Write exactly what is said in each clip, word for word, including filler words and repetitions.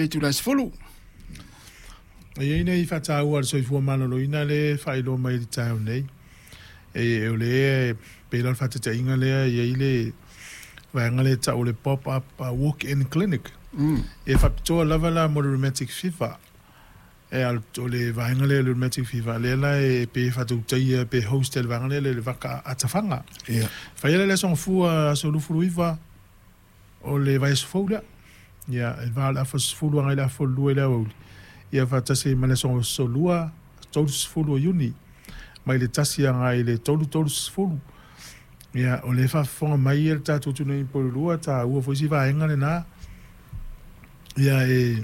Itula e sefulu. E i ai nei faataua a le soifua maloloina lea e faailoa mai i le taeao nei. E, o lea e pei la o le faataitaiga lea e i ai le vaega lea e tau o le pop-up walk-in clinic. Mm. E faapitoa lava la mo le rheumatic fever. E, o le vaega lea o le rheumatic fever, lea la e pei e faatautaia pe host e le vaega lea le vaka atafaga. Ia. Faia la le aso Gafua, aso luafuluiva o le vaiaso fou lea. Ia, e va o le afa sefulu agai i le afa lua i le aoauli. Ia faatasi ai ma le aso Lua, tolu sefulu o Iuni, mai le tasi agai i le tolu tolu sefulu. Ia, o lea e faafofoga mai le tatou atunuu i Upolu, taua foi si vaega lena. Ia, e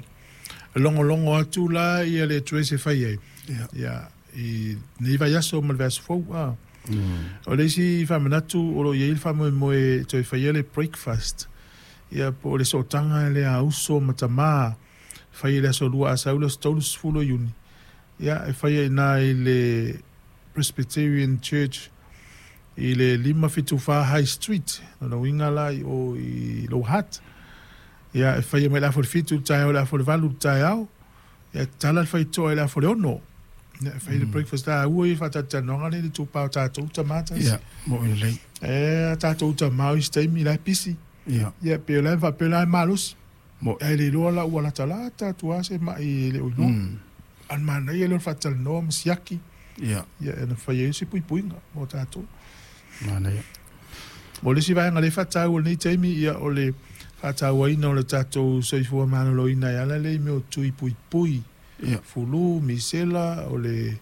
logologo atu la ia le address e fai ai. Ia. Ia, i nei vaiaso ma le vaiaso fou. Ah. Mm. O le isi faamanatu o lo o i ai le faamoemoe e toe faia le breakfast. Ia, po o le sootaga lea a uso ma tamā, fai i le aso Lua a sau le aso tolu sefulu o Iuni. Ia, e faia i ina i le Presbyterian Church i le lima fitu fa High Street. Lona uiga la i o i Lower Hutt. Ia, e faia mai le afa o le fitu i le taeao i le afa o le valu i le taeao. Ia, tatala le faitotoa i le afa o le ono. Ia, e fai le breakfast a ua i faatalatalanoaga nei le itupa o tatou tamā tasi. Ia, mo i lelei. E a tatou tamā o isi taimi la e pisi. Ia. Ia, pe o la e faapea la e malosi. Mo. Ae le iloa la ua latalata atu lava se mai e le o iloa. Mm. A o le manaia lea o le faatalanoa ma siaki. Ia. Ia, e na fai ai se puipuiga mo tatou. Manaia. Mo le isi vaega lea e faataua i lenei taimi, ia, o le faatauaina o le tatou soifua maloloina e ala lea i mea o tui puipui. Ia. Fulu, misela, o le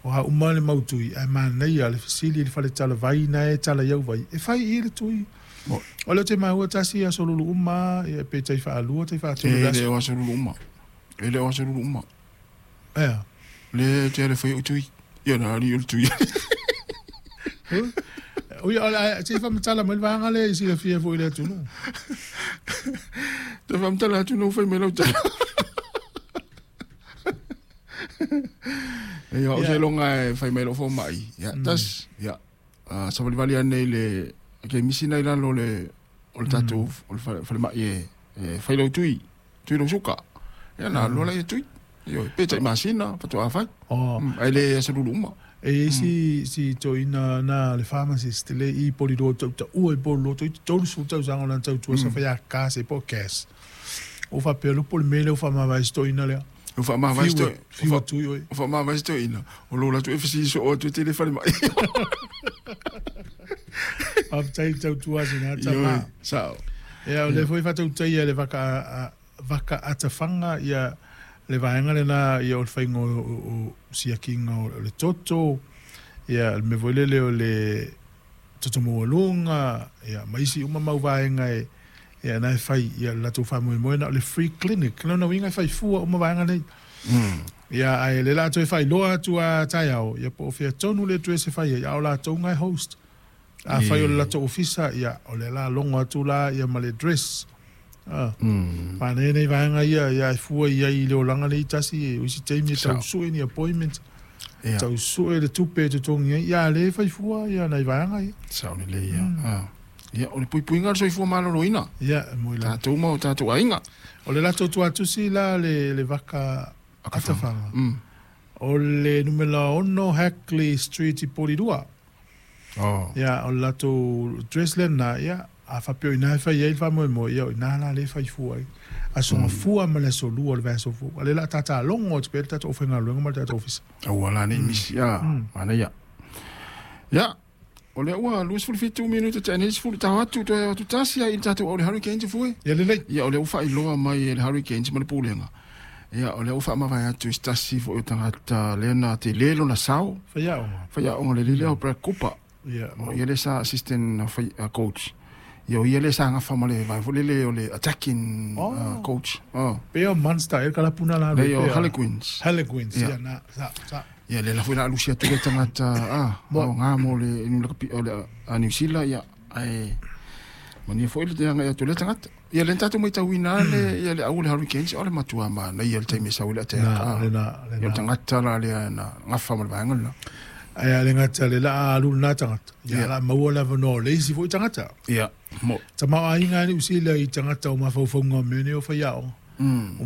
o a uma le mau tui, ae manaia le fesili i le fale talavai na e tala i au vai, e fai i le tui. Mo. O lea ou te maua tasi aso lulu uma, ia, pe tai faalua, tai faatolu E le le aso. o aso lulu uma. E le o aso lulu uma. Ea. Le te le fai o tui. Ia na ali o le tui. Ui, o le se i faamatala mai le vaega lea i silafia foi i le atunuu. Te whamtala atu no whai me lau tala. Ia, o Ia. se longa e whai mai lo fo mai. Ia, tas, ia. Uh, sa valivali anei le, ke misi nei lalo le, o le tatou, o le whale, whale mai e, e whai lau tui, tui lau suka. Ia, na loa lai e tui. Io, pe tai masina, whatu a whai. Oh. Mm, ai le aso lulu uma. E i ai si, si toeaina na le pharmacist le i Porirua tau taua i Porirua toi tolu sefulu tausaga o lana tautua sa fai a kase po o cash. Ua faapea loa po o le mea lea ua faamavae si toeaina lea. O wha Fiu toi. fiu atu i oe. O wha se toeaina. O lo latu e whasi so o atu te le whale mai. Faafetai le tautua sina Io, tamā. sao. Ia, o lea foi faatautaia le vaka a- vaka atafaga ia le vaega lena ia o le faiga o, o, o siakiga o le toto ia le mea foi lele o le toto maualuga ia ma isi uma mau vaega e ia na e fai ia le latou faamoemoe na o le free clinic lona uiga e fai fua uma vaega nei. Mm. Ia ae le la toe faailoa atu a taeao ia po o fea tonu le address e fai ai a o latou ga e host. A fai o le latou ofisa ia o le la logo atu la ia ma le address. Ah. Mm. Manaia nei vaega ia ia e fua i ai i le olaga nei tasi e o isi taimi e Sao. tausue ni appointment. Ia. Tausue le tupe e totogi ai ia le fai fua ia nai vaega ia. Sao le le ia. Ah. Ia, o le puipuiga o le soifua maloloina. Ia mo i la. Tātou ma o tātou aiga. O le latou tuatusi la le le vaka atafaga. Mm. O le numera ono Hackley Street i Porirua. Oh. Ia, o le latou address lena, ia, a faapea o ina e fai ai le faamoemoe, ia o ina la le fai fua ai. Aso Gafua ma le aso Lua o le vaiaso fou. A le la tatalogo atu pea le tatou aufaigaluega ma le tatou ofisa. Aua la nei misi a. Manaia. Ia, o lea ua luasefulu fitu minute taʻi nei sefulu tao atu toe atu tasi ai i le tatou au le Hurricanes fue. Ia lelei. Ia, o lea ua faailoa mai e le Hurricanes ma le pulega. Ia, o lea ua faamavae atu i se tasi foʻi o tagata lea na telē lona sao. Faiaoga. Faiaoga le lelea o Brad Cooper. Ia, O ia le sa assistant uh, fai, uh, coach. Ia o ia le sa gafa ma le vae foi lele o le attacking Oh. uh, coach. Oh. Pea o Munster, e kalapuna la Le o pea. Harlequins. Harlequins, Ia. ia, na, sa, sa. Ia le la foi la alusi atu le tagata ah, Mo- o ngā mo le nu la kapi o le a New Zealand ia ai mania foi le te anga atu le tagata. Ia le tatou maitauina le ia le au le Hurricanes o le matua ma na ia le taimi e sau le attack. Na, Ah. le na, le Ia le na. tagata la lea na gafa ma le vaega lena. Ai a le gata le la alu na tagata. Ia Ia. la maua la vanoa le isi foi tagata. Ia, mo. Tamaoaiga e Niu Sila i tagata o mafaufauga o mea nei o faiaoga. Mm.